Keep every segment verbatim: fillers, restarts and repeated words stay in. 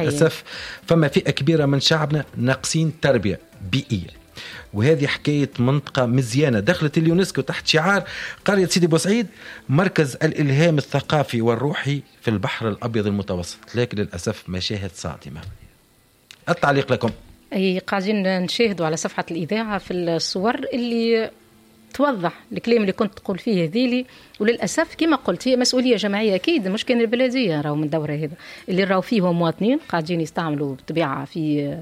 للأسف فما فئة كبيرة من شعبنا ناقصين تربية بيئية، وهذه حكاية منطقة مزيانة دخلت اليونسكو تحت شعار قرية سيدي بوسعيد مركز الإلهام الثقافي والروحي في البحر الأبيض المتوسط، لكن للأسف مشاهد صادمة. التعليق لكم. أي قاعدين نشاهدوا على صفحة الإذاعة في الصور اللي توضح الكلام اللي كنت تقول فيه هذيلي، وللاسف كما قلت هي مسؤولية جماعية اكيد، مش كان البلدية راهو من دوره هذا اللي راهو فيه مواطنين قاعدين يستعملوا بالطبيعة في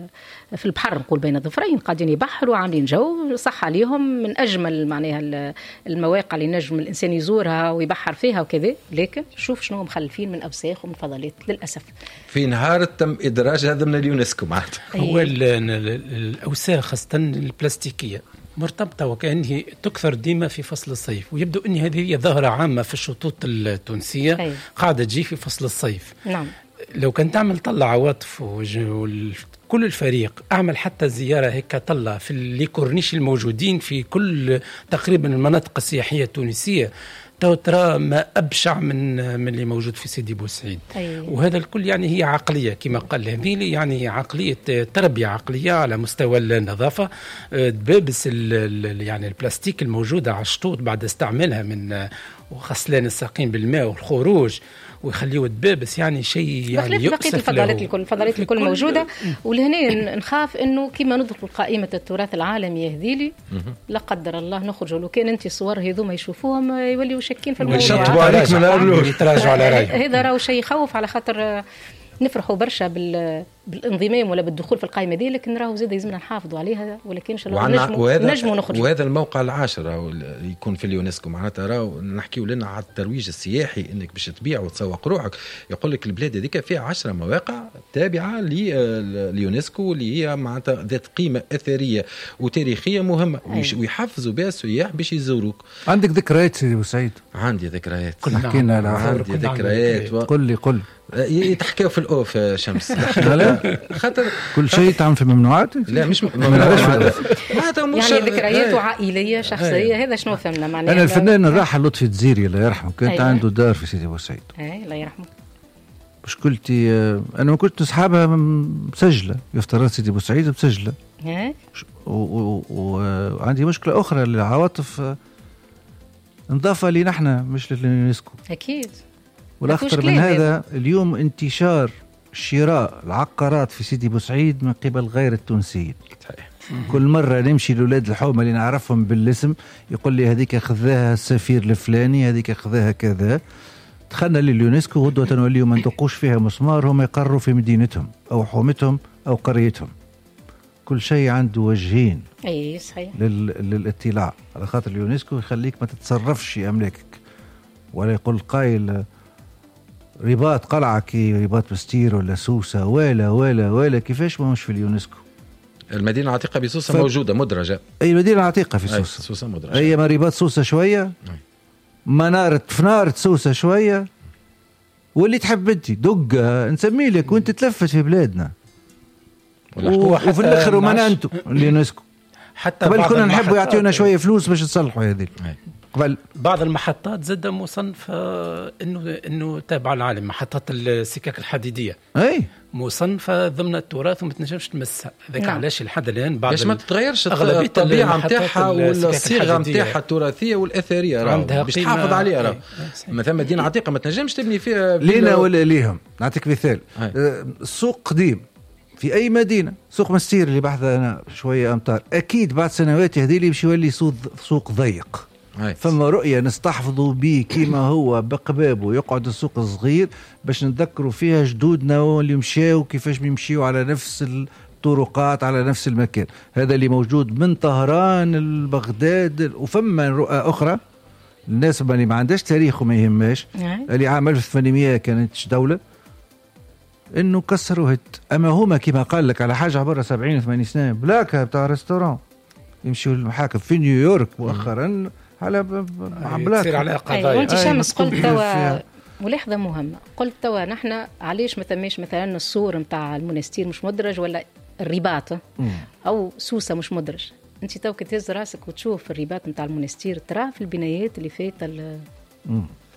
في البحر، نقول بين الظفرين قاعدين يبحروا عاملين جو صح عليهم، من اجمل معناها المواقع اللي نجم الانسان يزورها ويبحر فيها وكذا، لكن شوف شنو مخلفين من اوساخ ومن فضلات للاسف. في نهار تم ادراج هذا من اليونسكو معناتها. هو الاوساخ خاصة البلاستيكية مرتبطة وكأنه تكثر ديما في فصل الصيف، ويبدو أن هذه هي ظاهرة عامة في الشطوط التونسية. أي. قاعدة تجي في فصل الصيف. نعم. لو كان تعمل طلع عواطف وكل الفريق أعمل حتى زيارة هيك طلع في les corniches الموجودين في كل تقريبا المناطق السياحية التونسية، تو ترى ما أبشع من من اللي موجود في سيدي بوسعيد. أيه. وهذا الكل يعني هي عقلية كما قال هذيلي، يعني عقلية تربية عقلية على مستوى النظافة. دبابس يعني البلاستيك الموجودة على الشطوط بعد استعمالها من وغسلان الساقين بالماء والخروج ويخليوا دبابس، يعني شيء يعني يؤسف. بقية الفضلات الكل الفضلات الكل موجودة. ولهنا نخاف انه كما ندخل قائمة التراث العالمي يهذيلي لا قدر الله نخرجوا، لو كان انت الصور هذوما يشوفوهم يوليوا شاكين في الموضوع، يشطبوا عليك من الأول يتراجعوا على رايهم. هذا راهو شيء يخوف، على خاطر نفرحوا برشا بال بالانضمام ولا بالدخول في القائمة دي، لكن راهو زاد يلزمنا نحافظوا عليها، ولكن ان شاء الله نجموا نجموا نخرجوا. وهذا الموقع العاشر راهو يكون في اليونسكو، معناتها راهو نحكيو لنا على الترويج السياحي، انك باش تبيع وتسوق روحك. يقول لك البلاد هذيك فيها عشرة مواقع تابعه لليونسكو اللي هي معناتها ذات قيمة اثرية وتاريخية مهمة، ويحفزوا بها السياح باش يزوروك. عندك ذكريات سيدي بوسعيد؟ عندي ذكريات، حكينا على عندي ذكريات و... قل لي قل يتحكاو في ال off شمس. خاطر كل شيء تعمل في ممنوعات؟ لا مش ممنوعات، يعني ذكريات عائلية شخصية. هذا شنو فهمنا معناها. انا الفنان الراحل لطفي الجزيري الله يرحمه كانت أيوة. عنده دار في سيدي بوسعيد. اي الله يرحمه. مشكلتي انا ما كنت نسحبها مسجله، يفترض سيدي بوسعيد مسجله. وعندي مشكلة اخرى للعواطف، نضافه لي نحن مش لليونسكو. اكيد. والأخطر من هذا اليوم انتشار شراء العقارات في سيدي بوسعيد من قبل غير التونسيين. صحيح. كل مرة نمشي لولاد الحومة اللي نعرفهم بالاسم يقول لي هذيك خذاها السفير الفلاني، هذيك خذاها كذا. دخلنا لليونسكو غدوة نوليو ما ندقوش فيها مسمار، هم يقروا في مدينتهم أو حومتهم أو قريتهم. كل شيء عنده وجهين. أي صحيح. لل... للاطلاع، على خاطر اليونسكو يخليك ما تتصرفش في أملاكك، ولا يقول قايل رباط قلعة كي رباط بستير ولا سوسة ولا ولا ولا كيفاش ما مش في اليونسكو. المدينة العتيقة بسوسة ف... موجودة مدرجة. أي المدينة العتيقة في سوسة. سوسة مدرجة. أي ما رباط سوسة شوية، منارة فنارة سوسة شوية، واللي تحب أنت دقة نسمي لك وأنت تلفت في بلادنا. و... وفي الآخر وما أنتم اليونسكو. حتى قبل كنا نحبوا يعطيونا شوية فلوس باش نصلحوا هذه. قبل بعض المحطات زاد مصنفة انه انه تابعه للعالم، محطات السكك الحديدية اي مصنفه ضمن التراث وما تنجمش تمسها. هذاك نعم. علاش لحد الان بعض باش ما تتغيرش الطبيعة نتاعها ولا الصيغة نتاعها التراثية والاثريه، باش تحافظ عليها. راه مثلا مدينة عتيقه ما تنجمش تبني فيها لينا ولا ليهم. نعطيك مثال، السوق قديم في اي مدينة، سوق مستير اللي بحث انا شوية امتار، اكيد بعد سنوات هذه اللي باش يولي سوق ضيق. فما رؤية نستحفظوا به كما هو بقبابه، يقعد السوق الصغير باش نتذكروا فيها جدودنا واللي مشاو كيفاش بيمشيو على نفس الطرقات على نفس المكان. هذا اللي موجود من طهران لبغداد. وفما رؤى أخرى الناس اللي ما عندهاش تاريخ وما يهمهاش، اللي عام ألف وثمانمائة كانت دولة انه كسروا هت. اما هما كما قال لك على حاجة عبارة سبعين ثمانين سنة بلاكة بتاع restaurant يمشيوا للمحاكم في نيويورك مؤخرا على بلاك تصير على قضايا. وانت شمس قلت توا ملاحظة مهمة، قلت توا نحن علاش ما ثماش مثلا الصور نتاع المونستير مش مدرج، ولا الرباط او سوسة مش مدرج. انت تو كي تهز راسك وتشوف الرباط نتاع المونستير ترى في البنايات اللي فايته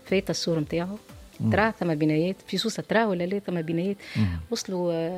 فايته الصور نتاعو ترى ثم بنايات في سوسه، ترى ولا لا؟ ثم بنايات وصلوا.